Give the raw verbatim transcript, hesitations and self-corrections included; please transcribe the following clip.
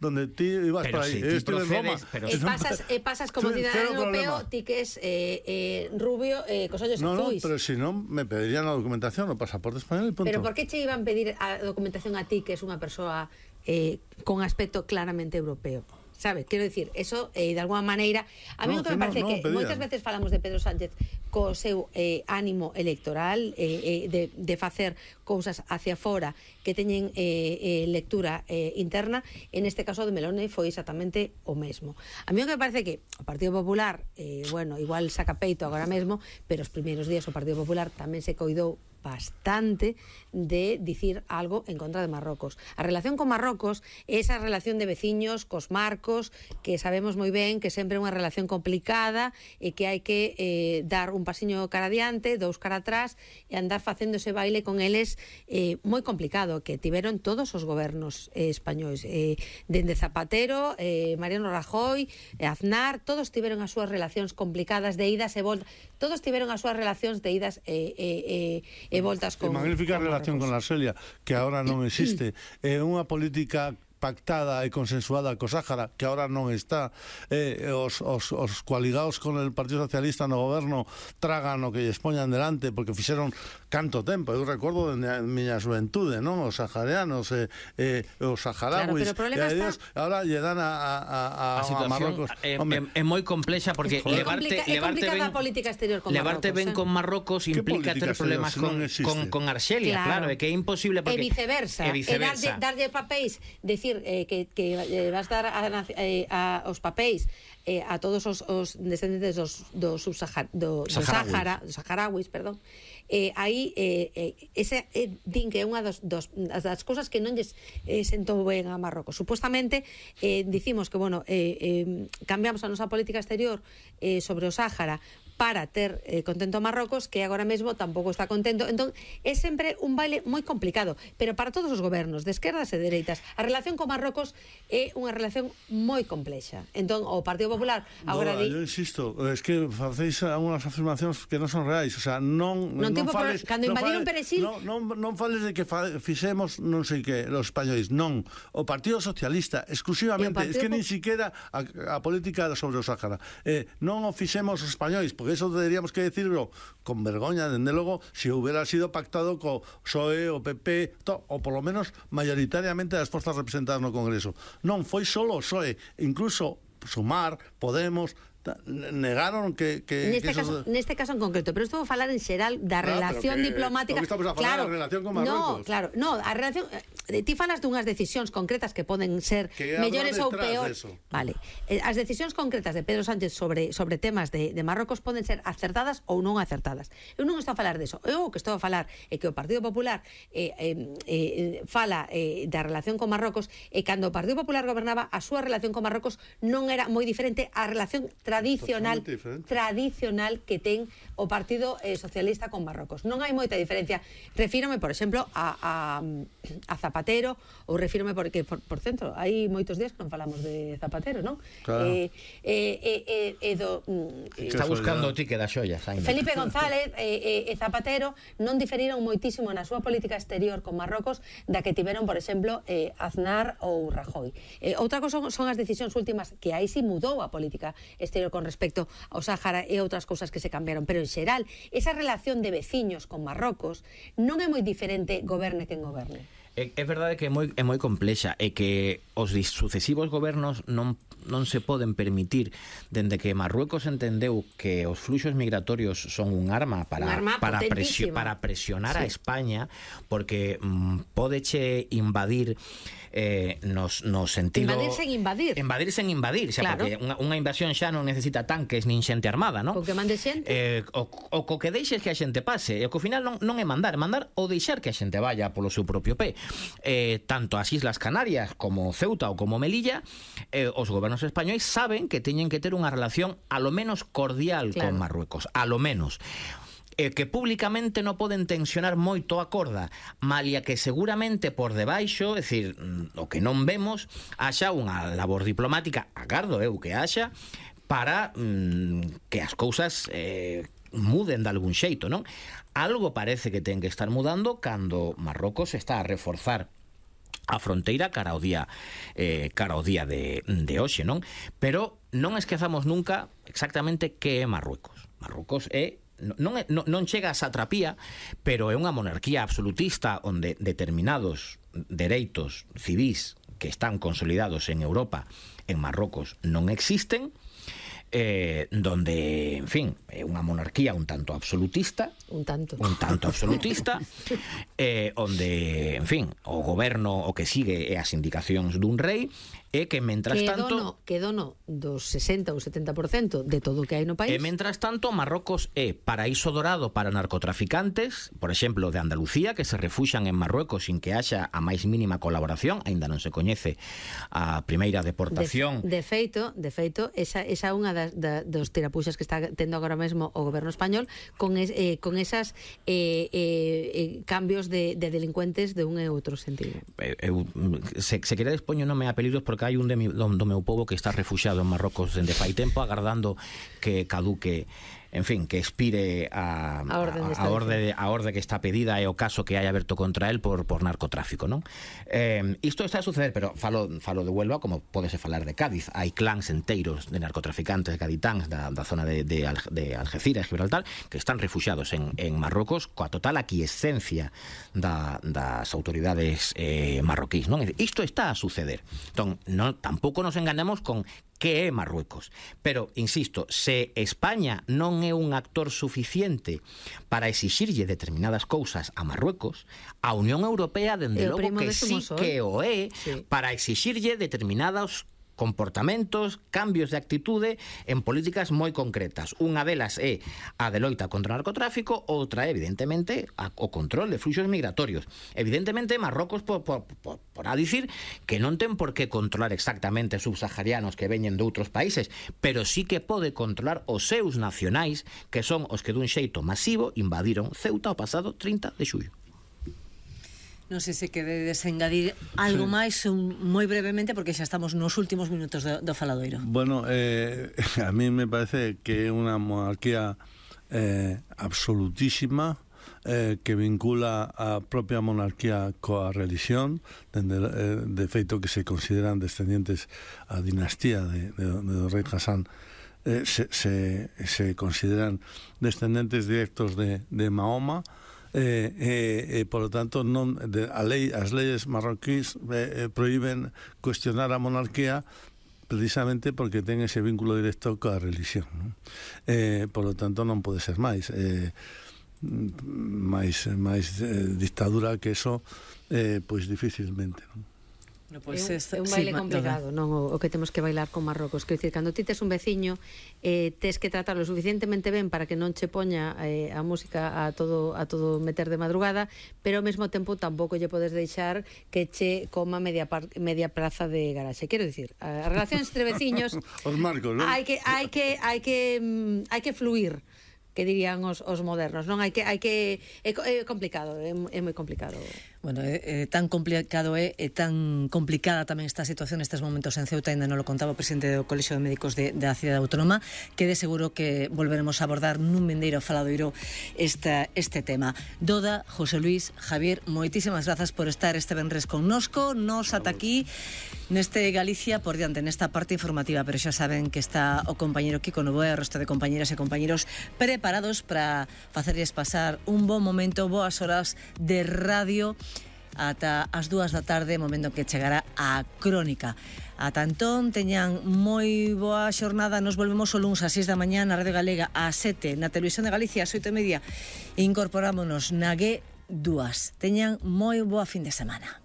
donde ti ibas pero para si ahí. ti Estuve en Roma. Pero e pasas, e pasas como Cero cidadano europeo, problema. ti que es eh, eh, rubio, eh, cos ollos No, no, azuis. pero si no, me pedirían la documentación, o pasaporte español y punto. Pero por que che iban pedir a documentación a ti, que es unha persoa eh, con aspecto claramente europeo? Sabe, quero dicir, eso eh, de alguma maneira a mí No, o que que me no, parece no que pedían. moitas veces falamos de Pedro Sánchez co seu eh, ánimo electoral eh, eh, de, de facer cousas hacia fora que teñen eh, eh, lectura eh, interna. En este caso de Meloni foi exactamente o mesmo. A mí o que me parece que o Partido Popular eh, bueno, igual saca peito agora mesmo, pero os primeiros días o Partido Popular tamén se coidou bastante de dicir algo en contra de Marrocos. A relación con Marrocos é esa relación de veciños cos marcos, que sabemos moi ben que sempre é unha relación complicada e que hai que eh, dar un pasiño cara adiante, dous cara atrás e andar facendo ese baile con eles eh, moi complicado, que tiveron todos os gobernos eh, españois, eh, dende Zapatero, eh, Mariano Rajoy, eh, Aznar, todos tiveron as súas relacións complicadas de idas e voltas, todos tiveron as súas relacións de idas e eh, eh, e voltas con... E magnífica con relación con la Argelia, que ahora non existe. É unha política pactada e consensuada co Sáhara, que ahora non está. Eh, os, os, os coaligados con el Partido Socialista no goberno tragan o que lles poñan delante, porque fixeron canto tempo. Eu recordo dende a miña xuventude, non? Os saharianos, eh, eh, os saharauis, claro, pero o problema e a está... Dios, ahora lle dan a, a, a, a situación a Marrocos. é, é, é moi complexa, porque É levarte, complica, é levarte complicada ben, a política exterior con levarte Marrocos, ben eh? con Marrocos implica ter problemas si con, non existe? con, con Argelia, claro, é que é imposible E porque, viceversa, e e viceversa. darlle, darlle papéis, decir eh, que, que eh, vas dar a, eh, a, os papéis eh, a todos os, os descendentes dos, dos, subsahar, do, do Sahara, dos saharauis, perdón, eh, aí eh, eh, ese eh, din que é unha dos, dos, das cousas que non lles eh, sentou ben a Marrocos. Supuestamente eh, dicimos que, bueno, eh, eh, cambiamos a nosa política exterior eh, sobre o Sáhara para ter eh, contento a Marrocos, que agora mesmo tampouco está contento. Entón, é sempre un baile moi complicado, pero para todos os gobernos, de esquerdas e dereitas, a relación con Marrocos é unha relación moi complexa. Entón, o Partido Popular agora no, di... yo insisto, es que facéis algunas afirmacións que non son reais, o sea, non non, non non fales, cando non invadiron fales, Perexil, non, non, non fales de que fa, fixemos non sei que los españois, non, o Partido Socialista exclusivamente, Partido es que Po- nin siquiera a, a política sobre o Sáhara, eh, non o fixemos os españois, porque eso deberíamos que decirlo con vergoña, dende logo, se si hubiera sido pactado co P S O E, o P P, to, o por lo menos mayoritariamente as forzas representadas no Congreso. Non foi solo o P S O E, incluso Sumar, Podemos, negaron que, que, neste, que caso, eso... neste caso en concreto, pero estou a falar en xeral da Claro, relación que, diplomática. que estamos a falar claro, da relación con No, Marruecos. claro, no, a relación eh, ti falas dunhas decisións concretas que poden ser que mellores ou detrás peor. deso. Vale. Eh, as decisións concretas de Pedro Sánchez sobre sobre temas de, de Marrocos poden ser acertadas ou non acertadas. Eu non estou a falar deso. Eu o que estou a falar é que o Partido Popular eh, eh, eh, fala eh, da relación con Marrocos, e cando o Partido Popular gobernaba, a súa relación con Marrocos non era moi diferente á relación tradicional tradicional que ten o Partido eh, Socialista con Marrocos. Non hai moita diferencia. Refírome, por exemplo, a, a, a Zapatero, ou refírome porque, por, por centro, hai moitos días que non falamos de Zapatero, non? Claro. Eh, eh, eh, eh, do, mm, Está buscando o ticket das xoias. Felipe González e eh, eh, Zapatero non diferiron moitísimo na súa política exterior con Marrocos da que tiveron, por exemplo, eh, Aznar ou Rajoy. Eh, outra cosa son as decisións últimas, que aí sí mudou a política exterior con respecto ao Sáhara e outras cousas que se cambiaron, pero en xeral, esa relación de veciños con Marrocos non é moi diferente goberne quen goberne. É, é verdade que é moi, é moi complexa, e que os sucesivos gobernos non, non se poden permitir, dende que Marruecos entendeu que os fluxos migratorios son un arma para, un arma para, presio, para presionar sí. a España, porque mm, pódeche invadir eh, nos, no sentido... Invadir sen invadir. Invadir sen invadir, xa, claro. Porque unha, unha invasión xa non necesita tanques nin xente armada, non? O que mande xente. Eh, o, o co que deixes que a xente pase, e o que ao final non, non é mandar, mandar ou deixar que a xente vaya polo seu propio pé. Eh, tanto as Islas Canarias como Ceuta ou como Melilla, eh, os gobernos españois saben que teñen que ter unha relación a lo menos cordial claro. con Marruecos, a lo menos. Eh, que públicamente non poden tensionar moito a corda, malia que seguramente por debaixo, é dicir, o que non vemos, haxa unha labor diplomática, agardo eu que haxa, para mm, que as cousas eh, muden de algún xeito, non? Algo parece que ten que estar mudando cando Marrocos está a reforzar a fronteira cara ao día eh, cara ao día de, de hoxe, non? Pero non esquezamos nunca exactamente que é Marruecos. Marruecos é non, é, non, non chega a satrapía, pero é unha monarquía absolutista onde determinados dereitos civís que están consolidados en Europa, en Marrocos, non existen, eh, donde, en fin, é unha monarquía un tanto absolutista, un tanto, un tanto absolutista, eh, onde, en fin, o goberno o que sigue é as indicacións dun rei, e que, mentras que tanto... dono, que dono dos sesenta ou setenta por cento de todo o que hai no país. E, mentras tanto, Marrocos é paraíso dorado para narcotraficantes, por exemplo, de Andalucía, que se refuxan en Marruecos sin que haxa a máis mínima colaboración, aínda non se coñece a primeira deportación. De, de feito, de feito, esa esa unha das da, dos tirapuxas que está tendo agora mesmo o goberno español con es, eh, con esas eh, eh, cambios de, de delincuentes de un e outro sentido. Eu, se, se queredes poño nome a peligros porque hai un de mi, do, do meu povo que está refuxiado en Marrocos dende fai tempo agardando que caduque, en fin, que expire a, a, orde, a, a, orde, a orde que está pedida e o caso que hai aberto contra él por, por narcotráfico, non? Eh, isto está a suceder, pero falo, falo de Huelva como podese falar de Cádiz. Hai clans enteiros de narcotraficantes caditáns da, da zona de, de, de Algeciras, Gibraltar, que están refuxiados en, en Marrocos coa total aquiescencia da, das autoridades eh, marroquís, non? Isto está a suceder. Entón, non, tampouco nos enganemos con que é Marruecos. Pero, insisto, se España non é un actor suficiente para exixirlle determinadas cousas a Marruecos, a Unión Europea, dende logo, que sí que o é, sí, para exixirlle determinados comportamentos, cambios de actitude en políticas moi concretas. Unha delas é a de loita contra o narcotráfico, outra é, evidentemente, a, o control de fluxos migratorios. Evidentemente, Marrocos por, por, por, por a dicir que non ten por que controlar exactamente subsaharianos que veñen de outros países, pero sí que pode controlar os seus nacionais, que son os que dun xeito masivo invadiron Ceuta o pasado trinta de xullo. Non sei se queredes engadir algo sí. máis un, moi brevemente, porque xa estamos nos últimos minutos do, do faladoiro. Bueno, eh, a mí me parece que é unha monarquía eh, absolutísima, eh, que vincula a propia monarquía coa religión, dende, eh, de feito que se consideran descendientes a dinastía de, de, de do rei Hassan, eh, se, se, se consideran descendentes directos de, de Mahoma. Eh, eh, eh, por lo tanto non, de, a lei, as leyes marroquíes eh, eh, prohíben cuestionar a monarquía precisamente porque ten ese vínculo directo coa religión, ¿no? Eh, por lo tanto non pode ser máis eh, máis, máis eh, dictadura que eso, eh, pois dificilmente, ¿no? Pues é, un, é un baile sí, complicado, non o, o que temos que bailar con Marrocos. Quer dicir, cando ti tes un veciño, eh, tes que tratarlo suficientemente ben para que non che poña eh, a música a todo a todo meter de madrugada, pero ao mesmo tempo tampouco lle podes deixar que che coma media par, media praza de garaxe. Quero dicir, as relacións entre veciños os marcos, non? Hai que hai que hai que mm, hai que fluir, que dirían os, os modernos, non? Hai que hai que é, é complicado, é, é moi complicado. Bueno, é, é tan complicado é, é tan complicada tamén esta situación nestes momentos en Ceuta, ainda non lo contaba o presidente do Colexio de Médicos de, da Cidade Autónoma, que de seguro que volveremos a abordar nun vendeiro faladoiro esta, este tema. Doda, José Luis, Javier, moitísimas grazas por estar este venres connosco. Nos ata aquí neste Galicia por diante, nesta parte informativa, pero xa saben que está o compañeiro Kiko Novoa e o resto de compañeras e compañeros preparados para facerles pasar un bon momento, boas horas de radio ata as dúas da tarde, momento que chegará a crónica. Ata entón, teñan moi boa xornada. Nos volvemos o luns a seis da mañá na Radio Galega, a sete na Televisión de Galicia, a oito e media. Incorporámonos na G dúas. Teñan moi boa fin de semana.